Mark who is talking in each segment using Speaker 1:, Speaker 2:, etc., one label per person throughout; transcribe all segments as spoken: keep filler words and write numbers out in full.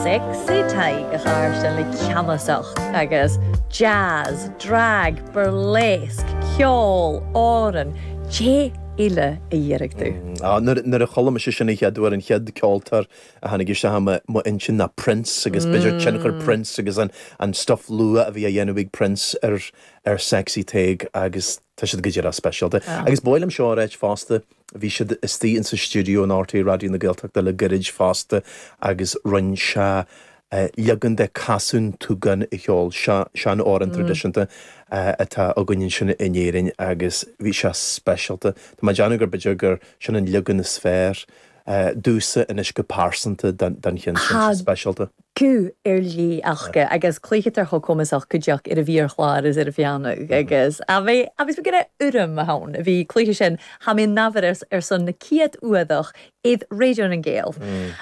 Speaker 1: Sexy Tadhg a Chàrasdan le ceannasach agus jazz, drag, burlesque, ceol, òran, Dè eile a iarraidh tú.
Speaker 2: Nuair a chuala mise sin an chéad uair an chéad ceoltóir a tháinig isteach m'intinn ná Prince agus b'fhéidir tionchar Prince agus an an stuff luath a bhí á dhéanamh ag Prince ar ar Sexy Tadhg agus tá siad go díreach speisialta. Agus ba mhaith liom seo a ráit fosta, bhí siad istigh in sa stiúideo in RTÉ Raidió na Gaeltachta le gairid fosta agus rinne sé leagan de Casún Túgán a cheol sean-amhrán traidisiúnta atá againn ansin in Éirinn agus bhí sé speisialta. Tá mé ag déanamh gur b'fhéidir gur sin an leagan is fearr domhsa anois go pearsanta den cheann sin speisialta.
Speaker 1: Cú ar lí acha agus cluichetar cho cumasach cuideach ar a bhí ar chlár is ar a bheanna agus a bhí agus bhí gona urm a ann a bhí cluiche sin ha mé nahar ar, ar son na céad uadach iad Raidió na nGael.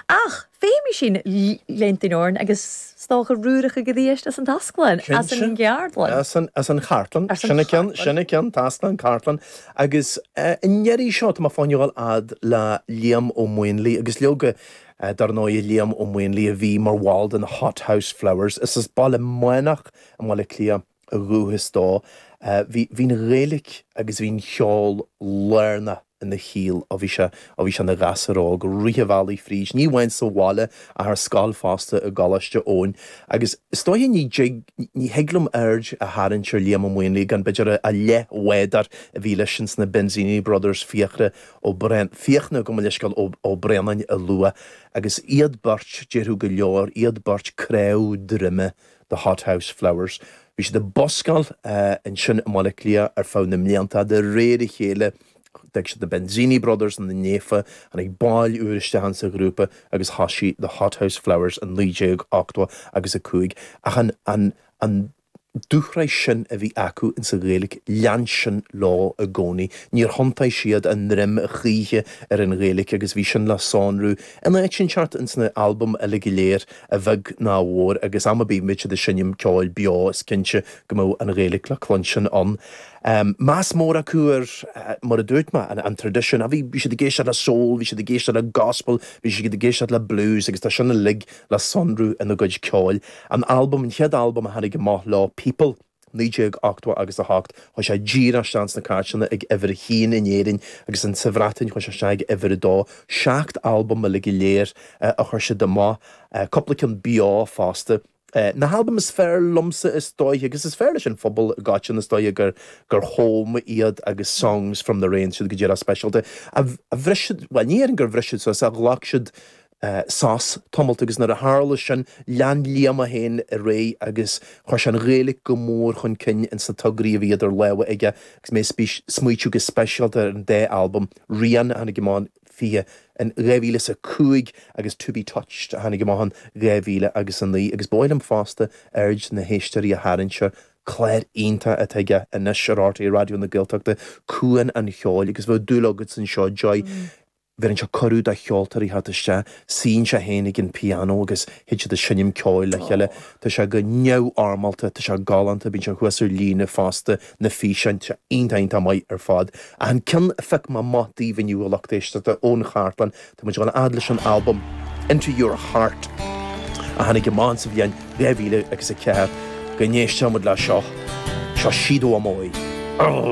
Speaker 1: Ach féimi sin léntain orn agus stácha rúracha go ddíist as an tasclann as an gceardlann.
Speaker 2: As an as an chartlann sinna ceann sinna ceann tasclann cartlann agus in ndeireadh seo tá mé fá choinne a ghabháil fhad le Liam Ó Maonlaí agus leoga dar ndóigh Liam Ó Maonlaí a bhí mar bhall den Hothouse Flowers is as Baile Meánach i mBaile Cliath a dhúchas dó. Bhí bhí'n Ghaeilge agus bhí'n cheol lárnach ina shaol ó bhí sé ó bhí sé ina ghasúr óg rith an bhealaigh fríd, ní amháin sa bhaile ach ar scoil fosta i gColáiste Eoin. Agus is dóiche ní dtig ní thig liom aird a tharraingt ar Liam Ó Maonlaí gan b'fhéidir a leathbhádóir a bhí leis sin sna Benzini Brothers Fiachra ó Bren Fiachna go leisceáil ó ó Bréanainn a lua agus iad beirt déarfadh go leor iad beirt cnámh droime the Hothouse Flowers. Bhí siad ag buscáil ansin i mBaile Cliath ar feadh na mblianta de réir a chéile d'fhág siad the Benzini Brothers an na néfa an ag báil úr isteach sa ghrúpa agus thosaigh the Hothouse Flowers an naoi déag ochtó agus a cúig ach an an an dúshraith sin a bhí acu in sa Ghaeilge lean sin leo i gcónaí. Níor thiontaigh siad a ndroim choíche ar an Ghaeilge agus bhí sin le sonrú in áit inteacht in sna albaim eile go léir a bheag ná a mhór agus am ar bith muid ag seinm ceoil beo is cinnte go mbeadh an Ghaeilge le cluinstin ann. Um, meas mór acu ar uh, mar a dúirt mé an, an tradition a bhí bhí siad ag éisteacht le soul, bhí siad ag éisteacht le gospel, bhí siad ag éisteacht le blues agus tá sin uilig le sonrú ina gcuid ceoil. An album an chéad album a tháinig amach leo People naoi déag ochtó agus a hocht chuaigh sé díreach isteach sna cairteanna ag uimhir a haon in Éirinn agus an sa Bhreatain chuaigh sé isteach ag uimhir a dó seacht album uilig go léir uh, a chuir siad amach uh, cúpla ceann beo fosta. Uh, na halbaim is fearr liomsa is dóiche agus is fearr leis an phobal gatin is dóiche gur gur home iad agus songs from the rain siad go dtí speisialta. A, a bhris well ní an gur bhris siad sos a ghlac siad uh, sos tamalt agus nuair a tharla sin lean Liam féin ar aghaidh agus chuir sé an Ghaeilge go mór chun cinn in sa tograí a bhí idir lámha aige agus mé smaoitiú go speisialta ar an dá album Rian a tháinig amach fiche in dhá mhíle is a cúig agus to be touched a tháinig amach in dhá mhíle agus a naoi agus ba mhaith liom fosta aird na héisteoirí a tharraingt clár iontach atá aige anois ar RTÉ Raidió na Gaeltachta Cuan an Cheoil agus bheadh dúil agat anseo Joy. Mm. Bhí sé cuireadh do cheoltóirí theacht isteach, suíonn sé féin ag an piano agus thit siad ag seinm ceoil le chéile. Tá sé go neamhfhoirmeálta, tá sé galánta, bíonn sé thuas ar líne fosta na físeáin sé iontach maith ar fad. A an ceann a phioc mé amach daoibh inniu a lucht éisteachta ón chartlann, Tá muid ag fad leis an album Into Your Heart a tháinig amach sa bhliain dhá mhíle agus a ceathair go n-éisteoidh muid le seo seo Sido Amoy. Oh!